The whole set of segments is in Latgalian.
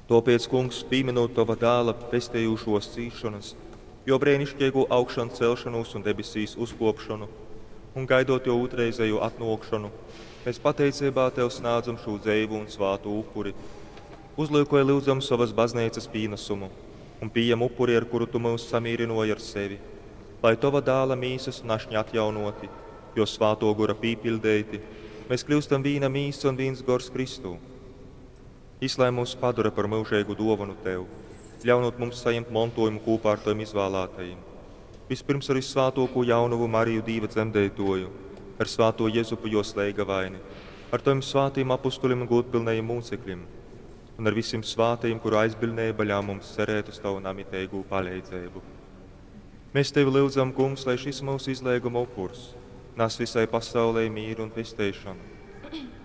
Tōpēc, Kungs, pīminūt Tova Dāla pestejūšōs cīsšonas, Jō breiniškeigū augšancelšonūs un debesīs uzkōpšonu, un gaidot Jō ūtrreizejū atnōkšonu, mēs pateiceibā Tev snādzam šū dzeivu un svātū upuri. Uzlyukoj, lyudzam, sovas Bazneicas pīnasumu un pījem upuri, ar kuru Tu myus samīrynōji ar sevi, lai Tova Dāla mīsas un ašņa atjaunōti, Jō Svātō Gora pīpiļdeiti, mēs kļyustam vīna mīsa un vīns gors Kristū. Jys lai myus padora par myužeigu dōvonu Tev, ļaunūt mums sajimt montōjumu kūpā ar Tovim izvālātajim. Vispirms ar vyssvātōkū jaunovu Mariju Dīva dzemdeitōju, ar svātū Jezupu jōs leigavaini, ar Tovim svātajim apustulim un gūdpylnajim mūcekļim, un ar visim svātajim, kuru aizbiļdneiba ļaun mums cerēt uz Tavu namiteigū paleidzeibu. Mēs Tevi lyudzam, Kungs, lai šis mūsu izleiguma upurs nas visai pasaulei mīru un pesteišonu.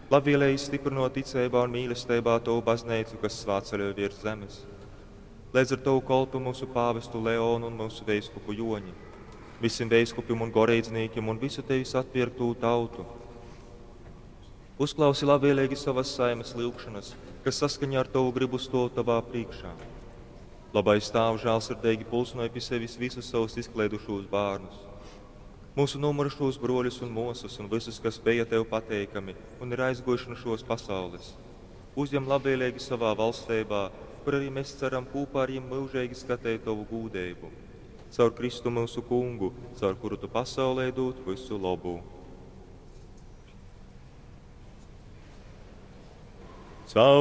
Labvēlīgi stiprinot ticeibā un mīlestībā Tavu baznīcu, kas svātceļoj virs zemes. Leidz ar Tavu kolpu mūsu pāvestu Leonu un mūsu veiskupu Joņi, visiem veiskupim un goreidznīkiem un visu Tevis atpirktū tautu. Uzklausi labvēlīgi savas saimes lyugšanas, kas saskaņā ar Tavu gribu stōv Tavā priekšā. Labais Tāvs žēlsirdīgi pulsināja pie sevis visus savus izklaidušos bērnus. Mūsu nomurušos broļus un mūsas un visus, kas bija Tev pateikami un ir aizgujuši no šos pasaules. Uzņem labvēlīgi savā valstībā, kur arī mēs ceram kopā ar viņiem mūžīgi skatīt Tavu gūdību. Caur Kristu mūsu kungu, caur kuru Tu pasaulē dod visu labu. Caur